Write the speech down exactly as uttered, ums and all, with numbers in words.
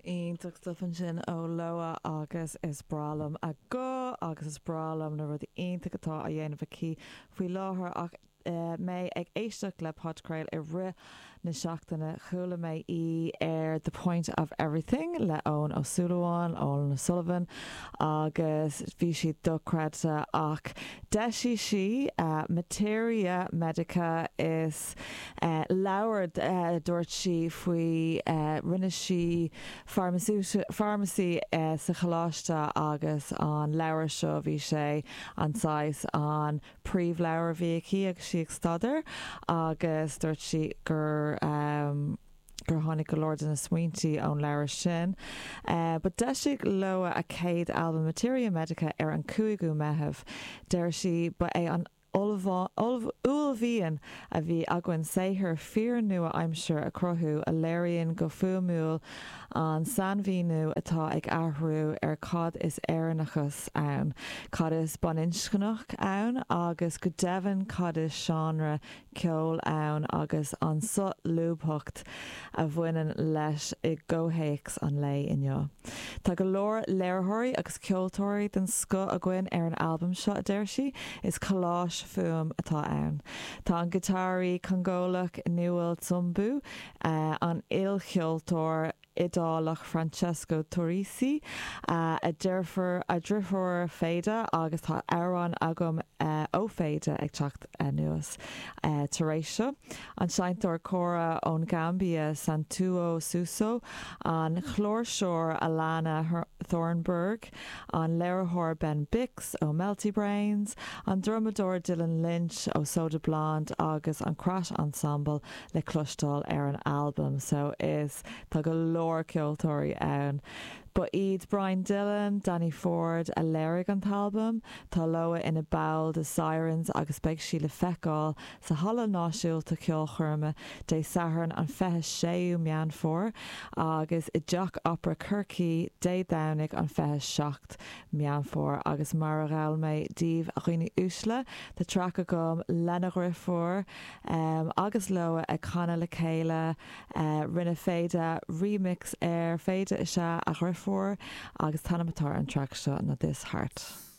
Iontach stuff ansin ó Loah agus is breá liom a guth agus is breá liom na rudaí iontacha atá á dhéanamh aici faoi láthair ach uh, mé ag éisteacht le podchraoladh i rith na seachtaine chuala mé í ar The Point of Everything le Eoin Ó Súilleabháin Eoin O'Sullivan agus bhí sí dochreidte ach d'eisigh sí uh, Materia Medica is uh, leabhar uh, dúirt sí faoi uh, rinne sí pharmacy uh, sa choláiste agus an leabhar seo bhí sé an saghas an príomhleabhar a bhí aici agus sí ag staidéar agus dúirt sí gur um, gur tháinig go leor de na smaointe ón leabhar sin. Uh, but d'eisigh Loah a céad album Materia Medica ar an cúigiú Meitheamh. Deir sí ba é an uaillmhian a bhí againn saothar fíor-nua-aimseartha a chruthú a léiríonn go fuaimiúil an sainmhíniú atá ag athrú ar cad is Éireannachas ann, cad is baininscneach ann agus go deimhin cad is seánra ceoil ann agus an solúbthacht a bhaineann leis i gcomhthéacs an lae inniu. Tá go leor léiritheoirí agus ceoltóirí den scoth againn ar an albam seo a deir sí is colláis fuaime atá ann. Tá an giotáraí Congólach Noel Nzumbu, uh, an ilcheoltóir Iodálach Francesco Turrisi uh, a deirfiúr a deirfiúr Faida agus tá amhrán agam uh, ó Faida ag teacht anuas uh, tar éis seo. An seinnteoir kora ón Gambia Santuo Suso, an chláirseoir Alana Thornburg, an léiritheoir Ben Bix ó Melty Brains, an drumadóir Dylan Lynch ó Soda Blonde agus an Crash Ensemble le cloisteáil ar an album, so is tá go leor ceoltóirí ann. Ba iad Brian Dillon, Danny Ford a léirigh an t-albam, tá Loah ina ball de Sirens agus beidh sí le feiceáil sa Halla Náisiúnta Ceolchoirme Dé Sathairn an fiche séú Meán Fómhair agus i dTeach Opera Chorcaí Dé Domhnaigh an fiche seacht Meán Fómhair agus mar a gheall mé daoibh a dhaoine uaisle tá traic agam lena dheirfiúr um, agus Loah ag canadh le chéile uh, rinne Faida remix ar Faida is ea a dheirfiúr agus an t-ainm atá ar an traic seo ná This Heart.